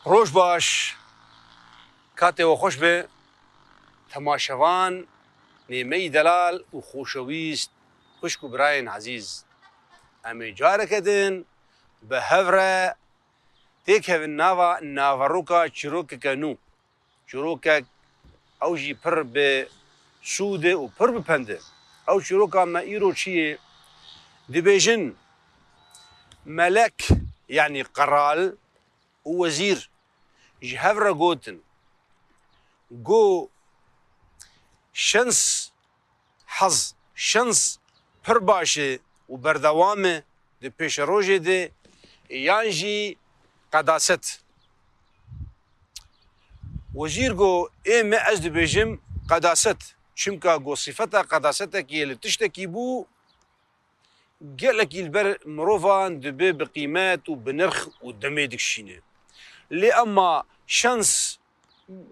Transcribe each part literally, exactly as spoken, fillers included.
Roj baş, katê we xweş be. Temaşevan, nêmeyî delal û xoşewîst, xwişk û birayên ezîz. Em ê careke din bi hev re têkevin nava naveroka çîrokeke nû. Çîrokek ew jî pir bi sûd e û pir bi pend e. Ew çîroka me îro çi ye? Dibêjin, melek, yanî qeral û wezîr ji hev re gotin, got, şens, hez, şens pir baş e û berdewam e di pêşerojê de, yan jî qedaset. Wezîr got, ê me, ez dibêjim qedaset. Çimka got, sifeta qedasetekî li tiştekî bû, gelekî li ber mirovan dibe bi qîmet û bi nirx û demê dikişîne. Lê ema şans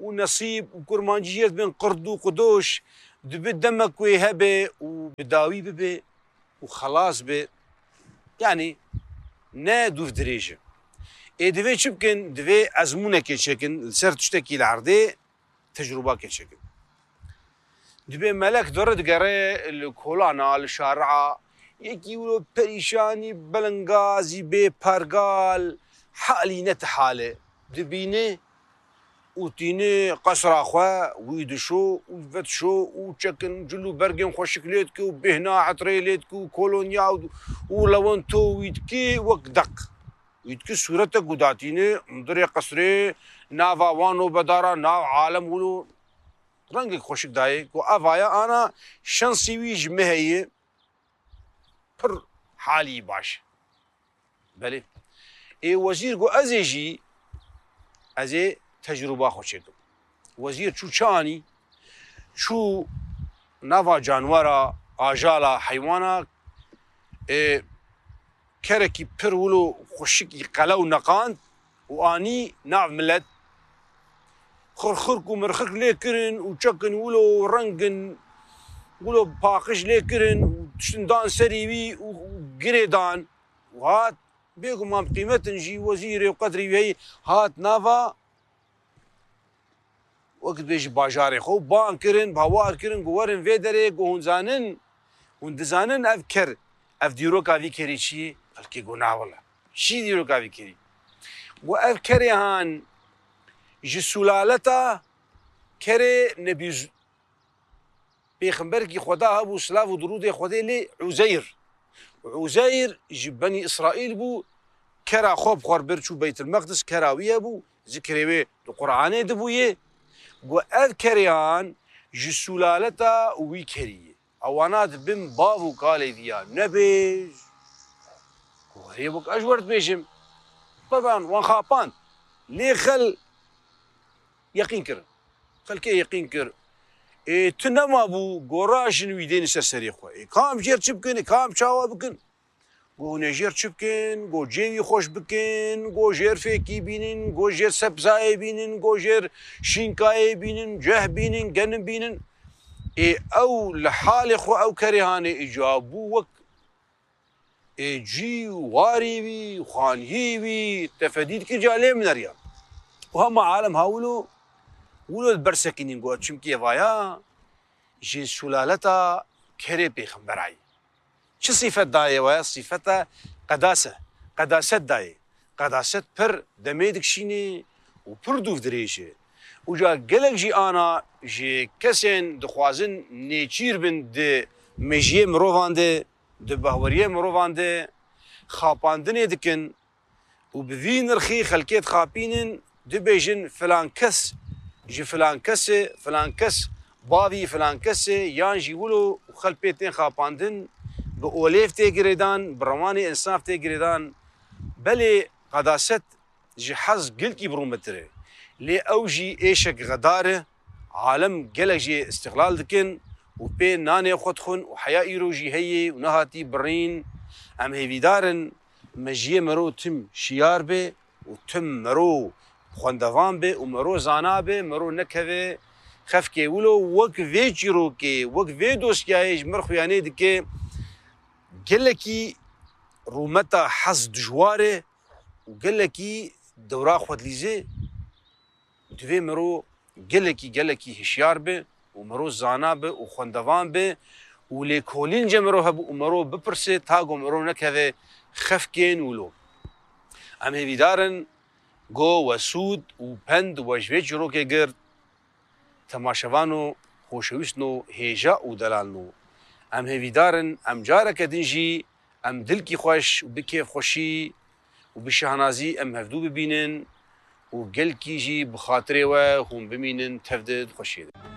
û nesîb û kurmancî jê dibin qird û qidoş, dibe demek wê hebe û bi dawî bibe û xelas be. Yanî ne dûv dirêj e. Ê divê çi bikin? Divê ezmûnekê çêkin, li ser tiştekî li erdê tecrûbakê çêkin. Dibê melek dore digere li kolana, li şaria, yekî wilo perîşanî, belingazî, bê pergal, halî ne ti hal e. Dibîne û tîne qesra xwe, wî dişo û vedişo û çekin cil û bergên xweşik lê dike û bêhna etirê lê dike û kolonya û, û lewento wî dike wek deq. Wî dike sûretek û datîne hundirê qesrê, nava wan nobedara, nav alem wilo rengek xweşik dayê ku ev aya ana şensî wî ji me heye, pir halî baş e. Belê. Ê wezîr got, ez ê jî, ez ê tecrûba xwe çêkim. Wezîr çû çi anî? Çû nava canwera, ajala, heywana, ê, kerekî pir wilo xweşik î qelew neqand û anî nav milet. Xirxirk û mirxirk lê kirin û çekin wilo rengin, wilo paqij lê kirin û tiştin dan serî wî û, û girê dan. Û hat, bêguman bi qîmet in jî, wezîrê û qedrî wî heyî, hat nava, wek dibêjî, bajarê xwe û bang kirin, bawar kirin, got, werin vê derê, got, hûn zanin, hûn dizanin ev ker, ev dîroka vî kerî çi ye? Xelkê got, na wele. Çi dîroka vî kerî? Got, ev kerê han ji sulaleta kerê Nebî Z-, pêxemberekî Xweda hebû, silav û dirûdê Xwedê lê, Uzeyr. Uzeyr ji Benî Îsraîl bû, kera xwe bi xwe re bir çû Beytil Meqdis, kera wî hebû, zikrê wê di Quranê de bûye. Got, ev kerê han ji sulaleta wî kerî ye. Ewana dibin bav û kalê vî ya. Nebêj. Got, erê, wek ez ji we re dibêjim. Teban, wan xapand. Lê xel yeqîn kirin. Xelkê yeqîn kir. Ê, tu nema bû, got, rajin wî dêne ser serê xwe. Ê, kam jêr çi bikin, ê, kam çawa bikin? Got, hûn ê jêr çi bikin? Got, cêwî xweş bikin, got, jêr fêkî bînin, got, jêr sebzayê bînin, got, jêr şînkayê bînin, ceh bînin, genim bînin. Ê, ew li halê xwe ew kerê hanê îca bû wek ê cî û warî wî, xaniyê wî, tefedî dikir ca lê mineriya. Û hema alem ha wilo, wilo li ber sekînîn got, çimkî evaya ji sulaleta kerê pêxemberayî. Çi sîfet dayê we? Sîfeta qedase, qedaset dayê. Qedaset pir demê dikişînê û pir dûv dirêj e. Û ca gelek jî ana ji kesên dixwazin nêçîr bin di mejiyê mirovan de, di bahweriyê mirovan de xapandinê dikin û bi vî nirxî xelkê dixapînin, dibêjin filan kes ji filan kes e, filan kes bavî filan kes e, yan jî wilo û xelk pê tên xapandin, bi olêv tê girêdan, bi rewanê însaf tê girêdan. Belê qedaset ji hez gilkî bi rûmetir e. Lê ew jî êşek xedar e. Alem gelek jê îstixlal dikin û pê nanê xwe dixwin û heya îro jî heye û nehatî birîn. Em hêvîdar in mejiyê mero tim şiyar be û tim mero xwendevan be û mero zana be, mero nekeve xefkê wilo. Wek vê çîrokê, wek vê dosyayê ji mir xuyanê dike, gelekî rûmeta hez dijwar e û gelekî dewra xwe dilîze. Divê miro gelekî gelekî hişyar be û miro zana be û xwendevan be û lêkolîn ce miro hebû û miro bipirse ta ku miro nekeve xefkên wilo. Em hêvîdar in ku we sûd û pend we ji vê çîrokê girt, temaşevano xoşewîstno hêja û delalno. Em hêvîdar in em careke din jî em dilkî xweş û bi kêfxweşî û bi şahnazî em hevdû bibînin û gelkî jî bi xatirê we hûn bimînin tev di xweşiyê de.